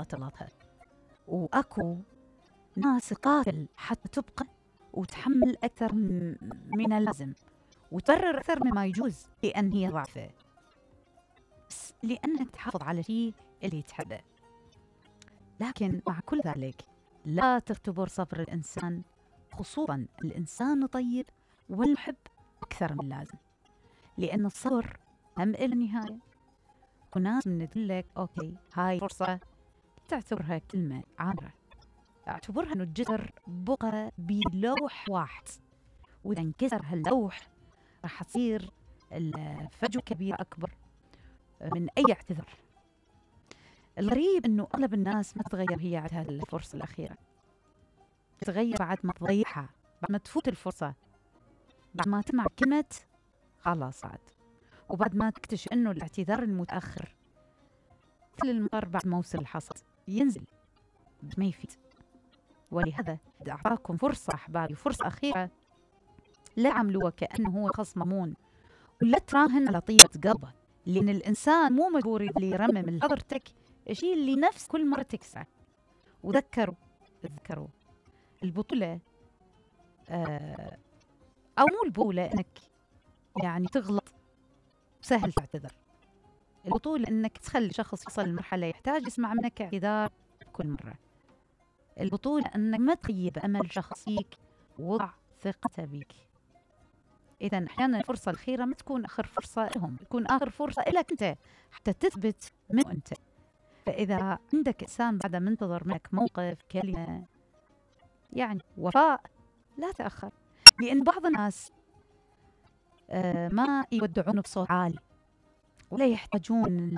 تغلطها، وأكو ناس تقاتل حتى تبقى وتحمل أكثر من اللازم وتبرر أكثر مما يجوز لأن هي ضعفة، بس لأنك تحافظ على شيء اللي تحبه. لكن مع كل ذلك لا تختبر صبر الإنسان، خصوصا الإنسان الطيب والمحب أكثر من اللازم، لأن الصبر هم إلى نهاية. وناس من تقول أوكي هاي فرصة تعتبرها كلمة عابرة، اعتبرها إنه الجسر بقى بلوح واحد، وإذا انكسر هاللوح راح تصير الفجوة كبيرة أكبر من أي اعتذار. الغريب إنه أغلب الناس ما تتغير هي عندها الفرصة الأخيرة، تتغير بعد ما تضيعها، بعد ما تفوت الفرصة، بعد ما تسمع كلمة خلاص عاد، وبعد ما تكتشف إنه الاعتذار المتأخر مثل المطر بعد موسم الحصاد ينزل ما يفيد. ولهذا أعطاكم فرصة أحبابي، فرصة أخيرة، لا عملوه كأنه هو خصم ممون، ولا تراهن على طيبة قلبه، لأن الإنسان مو مجبور اللي يرمم لحضرتك الشيء اللي نفس كل مرة تكسره. وذكروا البطولة أو مو البطولة إنك يعني تغلط سهل تعتذر، البطولة إنك تخلي شخص يصل لمرحلة يحتاج يسمع منك اعتذار كل مرة. البطولة إنك ما تخيب أمل شخص فيك وضع ثقته بيك. إذا أحيانا الفرصة الأخيرة ما تكون آخر فرصة لهم، تكون آخر فرصة لك أنت حتى تثبت من أنت. فإذا عندك إنسان بعد منتظر منك موقف، كلمة، يعني وفاء، لا تأخر، لأن بعض الناس ما يودعون بصوت عالي ولا يحتاجون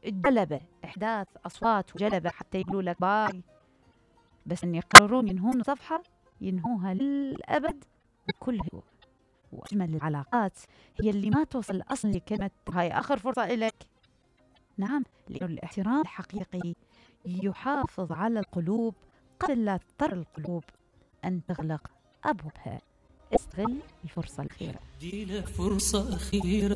الجلبة، إحداث أصوات وجلبة حتى يقولوا لك باي، بس أن يقررون ينهون صفحة ينهوها للأبد بكل هدوء. وأجمل العلاقات هي اللي ما توصل أصلا لكلمة هاي آخر فرصة إلك. نعم، لأن الاحترام الحقيقي يحافظ على القلوب قبل لا تضطر القلوب أن تغلق أبوابها. استغل الفرصة الأخيرة. دي لك فرصة أخيرة.